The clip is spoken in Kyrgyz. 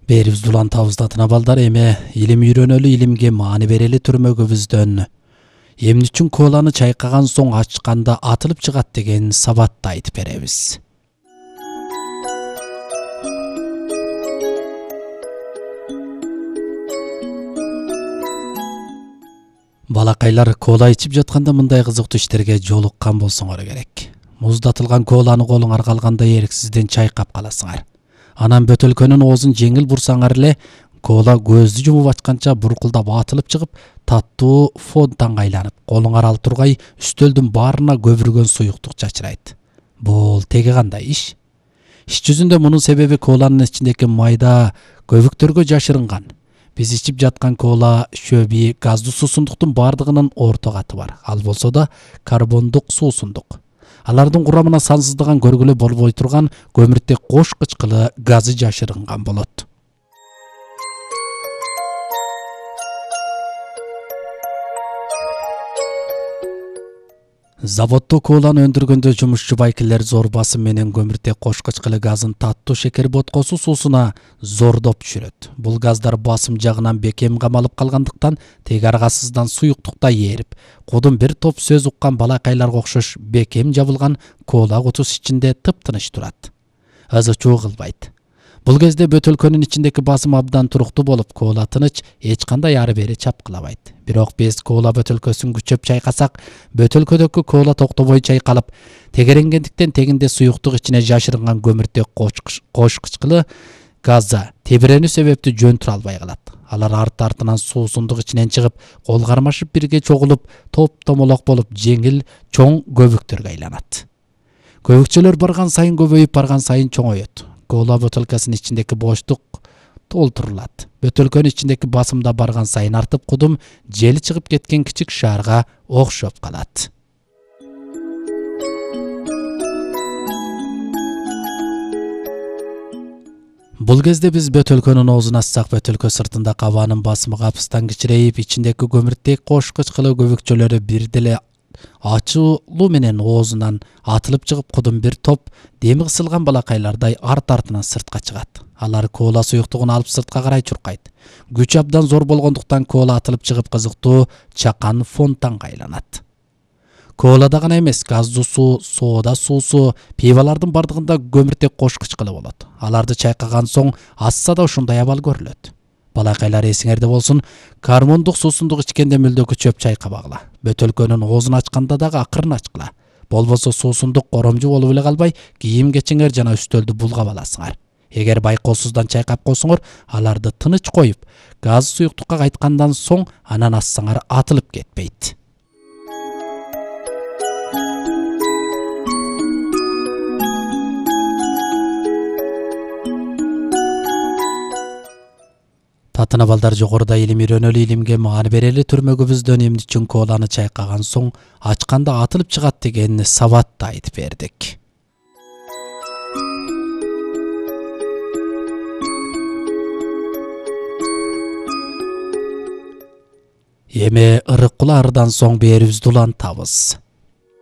Берибизди улантабызда тынабалдар эме илим үйрөнөлү, илимге маани берели түрмөгүбүздөн эмне үчүн коланы чайкаган соң ачканда атылып чыгат деген сабатты айтып беребиз. Балакайлар кола ичип жатканда мындай кызыктуу иштерге жолуккан болсоңор керек. Муздатылган коланы колуңар калганда эрксизден чайкап каласыңар. Анан бөтөлкөнүн оозун жеңил бурсаңар эле кола көздү жумуп ачканча буркулдап атылып чыгып, таттуу фонтанга айланып, колуңар ал тургай үстөлдүн баарына көбүргөн суюктук чачырайт. Бул теги кандай иш? Иш жүзүндө мунун себеби коланын ичиндеги майда көбүктөргө жашырынган. Биз ичип жаткан кола шөби газдуу суусундуктун бардыгынын орто каты бар. Ал болсо да карбондук суусундук. Алардын курамына сансыздаган көргүлө болбой турган көмүртек кош кычкылы газы жашырынган болот. Заводдо коланы өндүргөндө жумушчу байкелер зор басым менен көмүртек кош кычкылы газын таттуу шекер боткосу суусуна зордоп түшүрөт. Бул газдар басым жагынан бекем камалып калгандыктан теги аргасыздан суюктукта ээрип, кудум бир топ сөз уккан балакайларга окшош бекем жабылган кола кутусу ичинде тыптыныч турат. Ызы-чуу кылбайт. Бул кезде бөтөлкөнүн ичиндеги басым абдан туруктуу болуп, кола тыныч, эч кандай ары бери чапкылабайт. Бирок биз кола бөтөлкөсүн күчөп чайкасак, бөтөлкөдөгү кола токтобой чайкалып, тегеренгендиктен тегинде суюктук ичине жашырынган көмүртек кош кычкылы газы тебиренүү себептүү жөн тура албай калат. Алар арт-артынан суусундук ичинен чыгып, кол кармашып бирге чогулуп, топ-томолок болуп, жеңил, чоң көбүктөргө айланат. Көбүкчөлөр барган сайын көбөйүп, барган сайын чоңойот. Кола бөтөлкөсүнүн ичиндеги боштук толтурулат. Бөтөлкөнүн ичиндеги басым да барган сайын артып, кудум жели чыгып кеткен кичик шаарга окшоп калат. Бул кезде биз бөтөлкөнүн оозун ачсак, бөтөлкө сыртында кабанын басымы капыстан кичирейип, ичиндеги көмүртек кош кычкылы көбүкчөлөрү бир деле ачуулуу менен оозунан атылып чыгып, кудум бир топ деми кысылган балакайлардай арт-артынан сыртка чыгат. Алар кола суюктугун алып сыртка карай чуркайт. Күч абдан зор болгондуктан кола атылып чыгып, кызыктуу чакан фонтанга айланат. Колада гана эмес, газдуу суу, соода суусу, пивалардын бардыгында көмүртек кош кычкылы болот. Аларды чайкаган соң асса да ушундай абал көрүлөт. Балакайлар эсиңерде болсун, карбондук суусундук ичкенде мүлдө күчөп чайкабагыла. Бөтөлкөнүн оозун ачканда дагы акырын ачкыла. Болбосо суусундук коромжу болуп эле калбай, кийим-кечиңер жана үстөлдү булгап аласыңар. Эгер байкоосуздан чайкап койсоңор, аларды тыныч коюп, газ суюктукка кайткандан соң анан ассаңар атылып кетпейт. Татына балдар, жогоруда илим үйрөнөлү, илимге маани берели түрмөгүбүздөн эмне үчүн коланы чайкаган соң ачканда атылып чыгат деген сабатты айтып бердик. Эми ырык кулаардан соң берибизди улантабыз.